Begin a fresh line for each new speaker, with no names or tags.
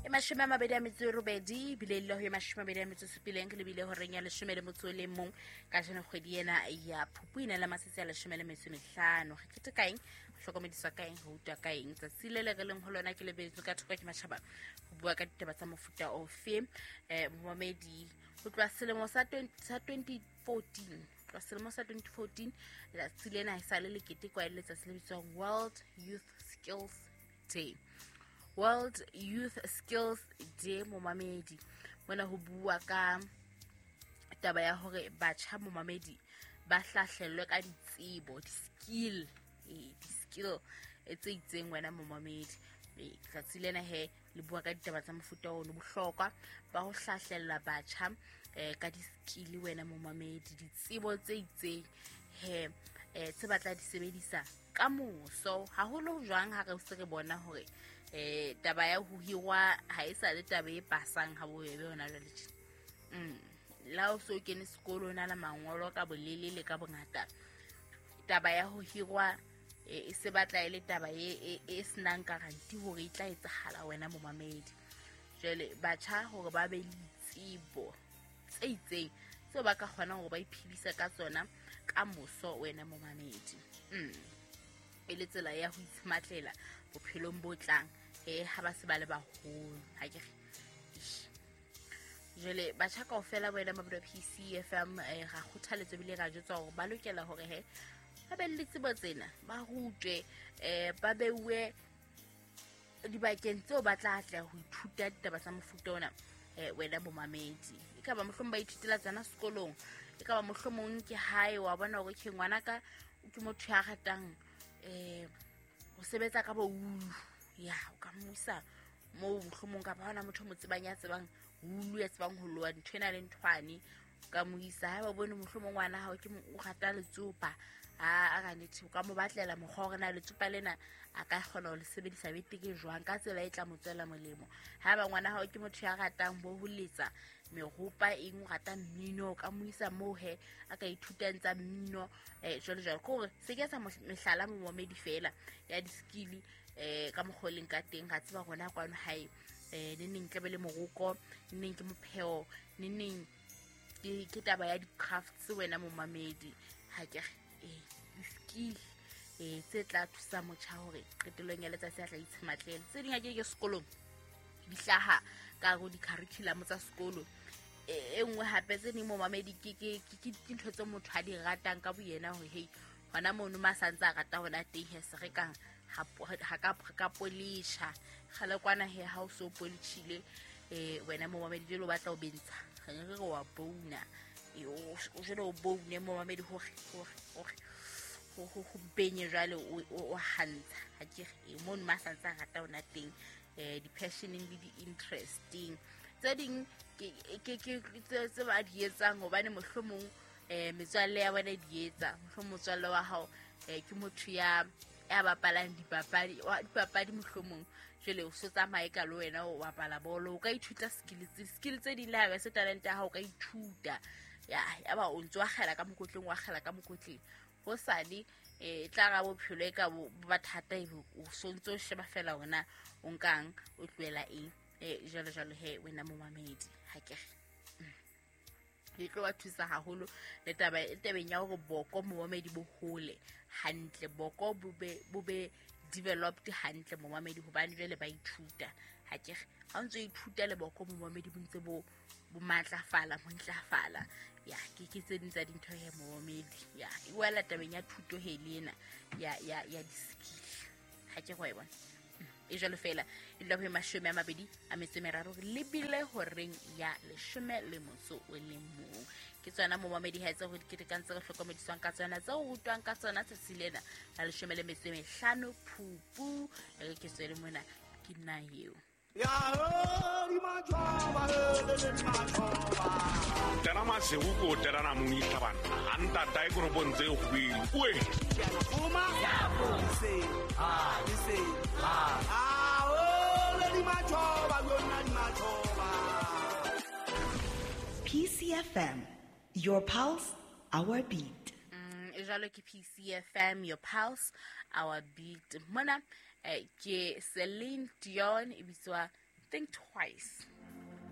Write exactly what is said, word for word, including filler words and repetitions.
E mashome a mabedi a metso e robedi ebile le ho e mashome a mabedi a metso e supileng le bile horeng ya leshome le motso o le mong ka jeno kgwedi ena ya Phupu ena la matsatsi a leshome le metso e mehlano. Re kete ka eng? Re hlokomediswa ka eng? Re utlwa ka eng? Tsatsi le le re leng ho lona ke lebetswe ka thoko ke matjhaba ho bua ka ditaba tsa mofuta ofe. Eh momamedi ho tloha selemo sa twenty fourteen tloha selemo sa twenty fourteen letsatsi lena e sa le le ketekwa e le letsatsi le bitswang World Youth Skills Day. World Youth Skills Day momamedi mona ho bua ka taba ya hore batjha momamedi ba hlahlellwe ka ditsebo, di-skill, eh di-skill tse itseng wena momamedi. Letsatsi lena he le bua ka ditaba tsa mofuta ono, bohlokwa ba ho hlahlella batjha eh ka di-skill wena momamedi, ditsebo tse itseng he eh tse batla di sebedisa ka moso. Haholo jwang ha re se re bona hore eh taba ya ho hirwa ha e sa le taba e pasang ha bobebe hona jwale tje. Mm la o so kene sekolo na la mangolo ka bolele le ka bongata, taba ya ho hirwa e se batla e le taba e e senang guarantee hore e tla etsahala wena momamedi. Jwale batjha hore ba be le ditsebo tse itseng tseo ba ka kgonang hore ba iphedise ka tsona ka moso wena momamedi. Mm e le tsela ya ho itshematlela bophelong bo tlang eh ha ba se ba le baholo. Ha ke re jwale batjha kaofela wena mabelo P C F M eh ra kgothaletswa ebile ra jwetswa hore ba lokela hore he ba be le tsebo tsena, ba rutwe eh ba beuwe dibakeng tseo ba tla atleha ho ithuta ditaba tsa mofuta ona eh wena bomamedi. E ka ba mohlomong ba ithutela tsona sekolong, e ka ba mohlomong ke hae wa bona hore ke ngwanaka ke motho ya ratang eh ho sebetsa ka boulu, ya o ka mo isa moo mohlomong kapa hona motho mo tsebang ya tsebang ulu ya tsebang ho loa ntho ena le nthwane, ka mo isa. Ha ba bone mohlomong ngwana hao ke o rata letsopa, a a ka nete o ka mo batlela mokgwa hore na letsopa lena a ka kgona ho le sebedisa beteke jwang ka tsela e tla mo tswela molemo. Ha ba ngwana hao ke motho ya ratang bo ho letsa meropa eng, o rata mmino, o ka mo isa moo he a ka ithutang tsa mmino eh jwalo jwalo. Ke hore se ke sa mehlala momamedi fela ya di-skill eh ka mokgwa o leng ka teng. Ra tseba rona kwano hae eh ne neng tlabe le moroko, ne neng ke mopheo, ne neng ke ke taba ya di-crafts wena momamedi. Ha ke re eh di-skill eh tse tla thusa motjha hore qetellong ya letsatsi a tla itshematlela. Tse ding ha ke ke sekolong di hlaha ka hare ho di-curriculum tsa sekolo. E nngwe hape tse ding momamedi ke ke ke dintho tse motho a di ratang ka boyena hore hey hona mono ma santse a rata hona teng he se re kang ha ka ka polisha kgale kwana he ha o so polishile eh wena momamedi jwale o batla o bentsha re re re wa bouna e o jwale o boune momamedi hore hore hore ho ho benye jwale o hantsha. Ha ke re mono ma santse a rata hona teng eh di-passioning le di-interesting tse ding ke ke ke tse ba di etsang hobane mohlomong eh metswalle ya bona di etsa. Mohlomong motswalle wa hao eh ke motho ya ya bapalang dipapadi wa dipapadi mohlomong jwale o so tsamaye ka le wena o bapala bolo, o ka ithuta skills skill tse ding le ha ba se talent ya hao o ka ithuta ya ya ba o ntse wa kgela ka mokotleng wa kgela ka mokotleng ho sale eh tla ra bophelo e ka bo ba thata e o sontso o sheba fela hona o nkang o tlohela eng eh jwalo jwalo he wena momamedi. Ha ke re e tlo ba thusa haholo le taba e tabeng ya hore boko momamedi bo hole hantle, boko bo be bo be developed hantle momamedi hobane jwale ba ithuta. Ha ke re ha o ntso ithuta le boko momamedi bo ntse bo bo matlafala bo ntlafala ya ke ke tse ding tsa dintho he momamedi ya e wela tabeng ya thuto he le ena ya ya ya di-skill. Ha ke go e bona e jwalo fela e dula ho mashome a mabedi a metso e meraro re lebile horeng ya leshome le motso o le mong. Ke tsona momamedi ha tse ho diketekang tse re hlokomediswang ka tsona tse o rutwang ka tsona tsatsi lena la leshome le metso e mehlano Phupu. Re ke tswele mona ke nna eo.
Tena masego ko terana monitla bana a ntata e koropong tse kgwedi oe
P C F M, your pulse, our beat.
Mm, jwalo ke P C F M, your pulse, our beat. Mona eh, ke Celine Dion e bitswa Think twice.